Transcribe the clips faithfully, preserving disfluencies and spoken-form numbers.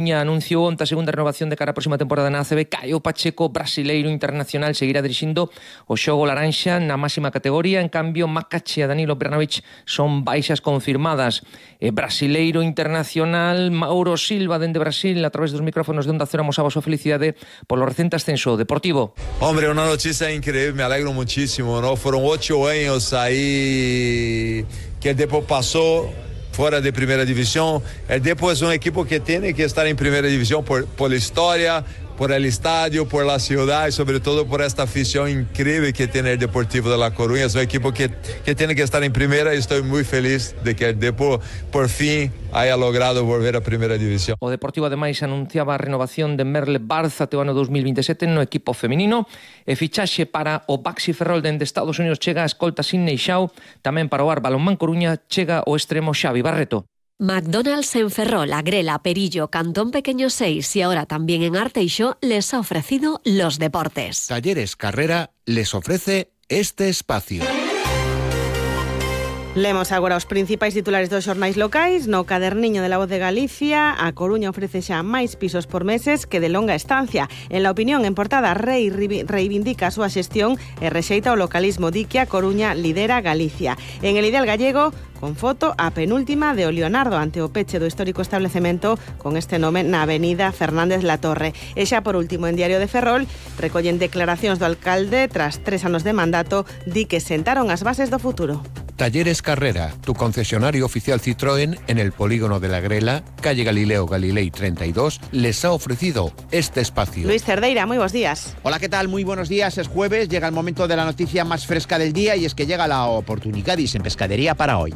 Anunciou onte a segunda renovación de cara á próxima temporada na A C B. Caio Pacheco, brasileiro internacional, seguirá dirixindo o xogo laranxa na máxima categoría. En cambio, Macache e Danilo Branovic son baixas confirmadas. E brasileiro internacional Mauro Silva, dende Brasil, a través dos micrófonos de Onda Cero, amosaba a súa felicidade polo recente ascenso Deportivo. Hombre, una noticia increíble, me alegro muchísimo, ¿no? Fueron ocho años ahí que el Depo pasó fuera de primera división. El Depo es un equipo que tiene que estar en primera división por, por la historia, por el estadio, por la ciudad y sobre todo por esta afición increíble que tiene el Deportivo de La Coruña. Es un equipo que, que tiene que estar en primera y estoy muy feliz de que el Depo por fin haya logrado volver a primera división. O Deportivo ademais anunciaba a renovación de Merle Barza até o ano dos mil veintisiete no equipo feminino e fichaxe para o Baxi Ferrol dende Estados Unidos. Chega a escolta Sidney Shaw, tamén para o Ar Balonmán Coruña chega o extremo Xavi Barreto. McDonald's en Ferrol, Agrela, Perillo, Cantón Pequeño seis y ahora también en Arteixo les ha ofrecido los deportes. Talleres Carrera les ofrece este espacio. Lemos agora os principais titulares dos xornais locais. No caderniño de La Voz de Galicia, a Coruña ofrece xa máis pisos por meses que de longa estancia. En La Opinión, en portada, Rei reivindica a súa xestión e rexeita o localismo. Di que a Coruña lidera Galicia. En El Ideal Gallego, con foto a penúltima de o Leonardo ante o peche do histórico establecemento con este nome na avenida Fernández Latorre. E xa por último, en Diario de Ferrol, recollen declaracións do alcalde tras tres anos de mandato. Di que sentaron as bases do futuro. Talleres Carrera, tu concesionario oficial Citroën en el polígono de La Grela, calle Galileo Galilei treinta y dos, les ha ofrecido este espacio. Luis Cerdeira, muy buenos días. Hola, ¿qué tal? Muy buenos días. Es jueves, llega el momento de la noticia más fresca del día y es que llega la Oportunigadis en pescadería para hoy.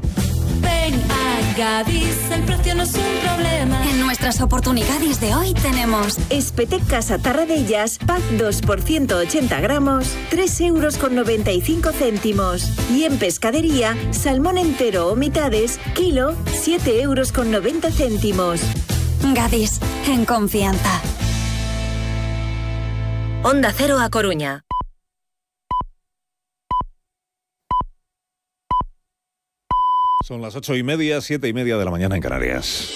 Ven a Gadis, el precio no es un problema. En nuestras oportunidades de hoy tenemos espetecas a tarradellas, pack dos por ciento ochenta gramos, tres euros con noventa y cinco céntimos. Y en pescadería, salmón entero o mitades, kilo, siete euros con noventa céntimos. Gadis, en confianza. Onda Cero a Coruña. Son las ocho y media, siete y media de la mañana en Canarias.